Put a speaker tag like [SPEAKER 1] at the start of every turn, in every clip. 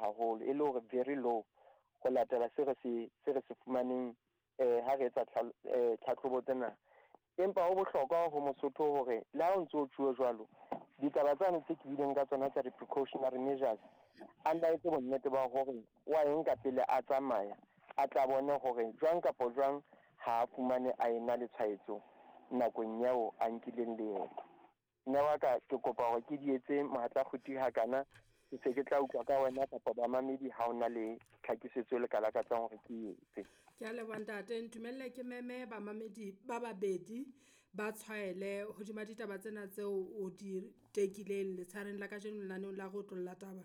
[SPEAKER 1] haholo, e le hore very low ho latela se re se fumaneng ha re etsa tlhatlhobo tsena. Empa ho bohlokwa ho Mosotho hore le ha o ntso o tjhuwe jwalo, ditaba tsane tse ke buileng ka tsona tsa di-precautionary measures, a nna etse bonnete ba hore wa e nka pele a tsamaya, a tla bone hore jwang kapa jwang ha a fumane a ena le tshwaetso nakong eo a nkileng leeto. Mme wa ka, ke kopa hore ke di etse mohatla kguti hakana, ke se ke tla utlwa ka wena kapa bamamedi ha ona le tlhakisetso le ka lakatsang hore ke etse.
[SPEAKER 2] Ke a leboha ntate, ntumelle ke meme bamamedi ba babedi ba tshwaele hodima ditaba tsena tseo o di tekileng letshareng la kajeno lenaneong la re otlolla taba.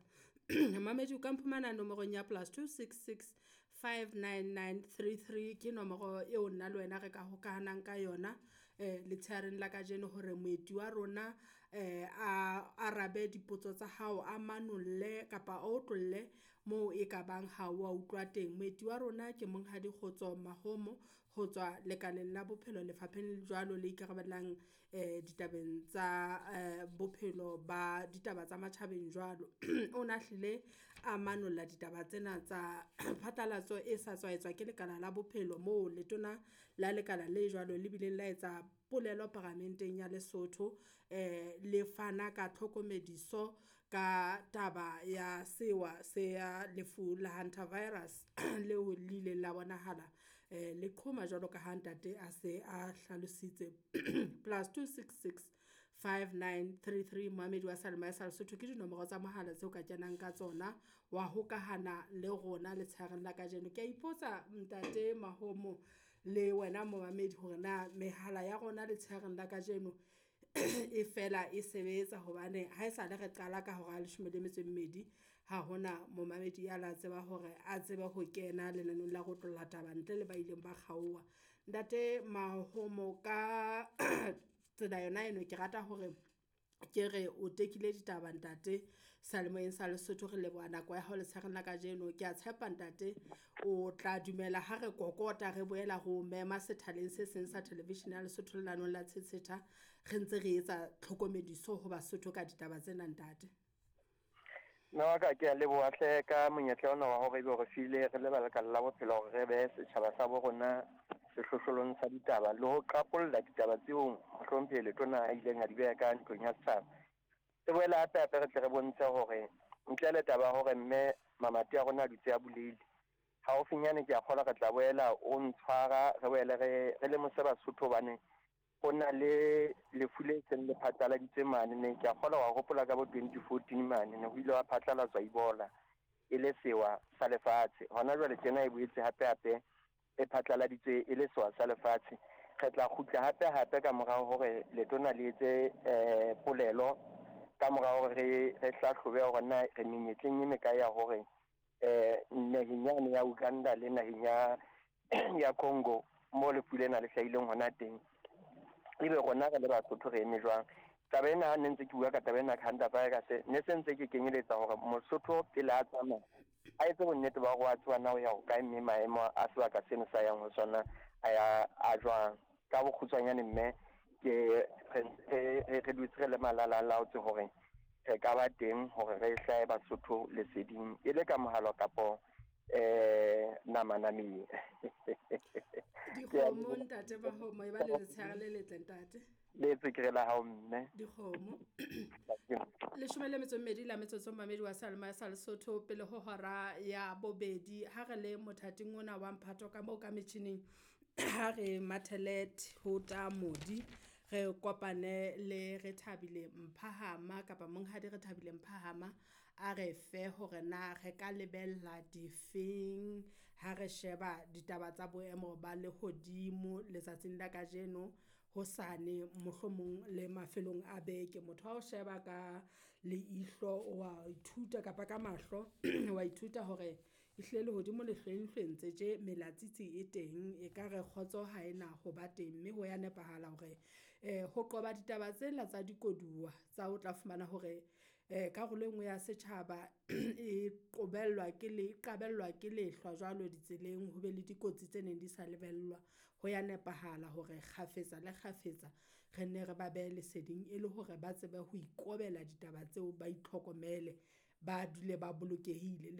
[SPEAKER 2] Mamedi o ka mphumana nomorong ya +266 599 33, ke nomoro eo nna le wena re ka hokahanang ka yona letsheareng la kajeno hore moeti wa rona a arabe dipotso tsa hao, a manolle kapa a otlolle moo e ka bang ha wa utlwa teng. Moeti wa rona ke Monghadi Kgotso Mahomo ho tswa lekaleng la bophelo lefapheng jwalo le ikarabellang ditabeng tsa bophelo ba ditaba tsa matjhabeng jwalo. O na hlile a manolla ditaba tsena tsa phatlalatso e sa tswa etswa ke lekala la bophelo moo letona la lekala le jwalo le bileng la etsa polelo paramenteng ya Lesotho, le fana ka tlhokomediso ka taba ya sewa se ya lefu la hantavirus leo le ileng la bonahala le qhoma jwalo ka ha ntate a se a hlalositse. +266 5933 moamedi wa seyalemoya sa Lesotho ke dinomoro tsa mohala tseo ka kenang ka tsona wa hokahana le rona letsheareng la kajeno. Ke a ipotsa ntate Mahomo le wena momamedi hore na mehala ya rona letsheareng la kajeno e fela e sebetsa hobane ha esale re qala ka hora ya leshome le metso e mmedi, ha hona momamedi ya la tseba hore a tsebe ho kena lenaneong la ho otlolla taba ntle le ba ileng ba kgaoha. Ntate Mahomo ka tsela yona eno, ke rata hore ke re o tekile ditaba ntate seyalemoyeng sa Lesotho. Re leboha nako ya hao letsheareng la kajeno. Ke a tshepa ntate o tla dumela ha re kokota re boela re o mema sethaleng se seng sa television ya Lesotho lenaneong la Tshetsheta, re ntse re etsa tlhokomediso ho Basotho ka ditaba tsena ntate.
[SPEAKER 1] Mme wa ka, ke a leboha hle ka monyetla ona wa hore ebe o re file re le ba lekala la bophelo hore re behe setjhaba sa bo rona sehlohlolong sa ditaba le ho qapolla ditaba tseo mohlomphehi letona a ileng a di beha ka ntlong ya setjhaba. E boela hape hape re tle re bontshe hore ntle le taba ya hore mme mamati a rona a dutse a bulehile, haufinyane ke a kgolwa re tla boela o ntshwara, re boele re lemose Basotho hobane ho na le lefu le seng le phatlaladitswe mane ne. Ke a kgolwa wa hopola ka bo 2014 mane ne ho ile wa phatlalatswa Ebola e le sewa sa lefatshe. Hona jwale tjena e boetse hape hape e phatlaladitswe e le sewa sa lefatshe. Re tla kgutla hape hape ka morao hore letona le etse polelo, ka morao hore re hlahlobe hore na re menyetleng e mekae ya hore naheng yane ya Uganda le naheng ya Congo mo lefu lena le hlahileng hona teng, ebe rona re le Basotho re eme jwang. Taba ena ha ne ntse ke bua ka taba ena ka hantavirus, ne se ntse ke kenyeletsa hore Mosotho pele a tsamaya a etse bonnete ba hore wa tseba na o ya hokae, mme maemo a sebaka seno sa yang ho sona a ya a jwang. Ka bokgutshwanyane mme ke re dutse re le malala a laotse hore re ka ba teng hore re hlahe Basotho leseding e le ka mohala kapo nama nameng.
[SPEAKER 2] Dikgomo ntate Mahomo, e ba le letshehare le letle ntate.
[SPEAKER 1] Le tsekere la hao mme.
[SPEAKER 2] Dikgomo. 12 la metsotso mamedi wa seyalemoya sa Lesotho pele ho hora ya bobedi. Ha re le mothating ona wa mphato ka moo ka metjhining, ha re mathele thota modi, re kopane le Rethabile Mphahama kapa Monghadi Rethabile Mphahama a re fe hore na re ka lebella difeng ha re sheba ditaba tsa boemo ba lehodimo letsatsing la kajeno, hosane mohlomong le mafelong a beke. Motho ha o sheba ka leihlo wa ithuta kapa ka mahlo wa ithuta hore ehlile lehodimo le hlwenghlwentse tje melatsitsi e teng, e ka re kgotso ha ena ho ba teng, mme ho ya nepahala hore ho qoba ditaba tsena tsa dikoduwa tsa o tla fumana hore karolo e nngwe ya setjhaba e qobellwa ke le qabellwa ke lehlwa jwalo ditseleng, ho be le dikotsi tse neng di sa lebellwa. Ho ya nepahala hore kgafetsa le kgafetsa re nne re ba behe leseding e le hore ba tsebe ho ikobela ditaba tseo, ba itlhokomele, ba dule ba bolokehile.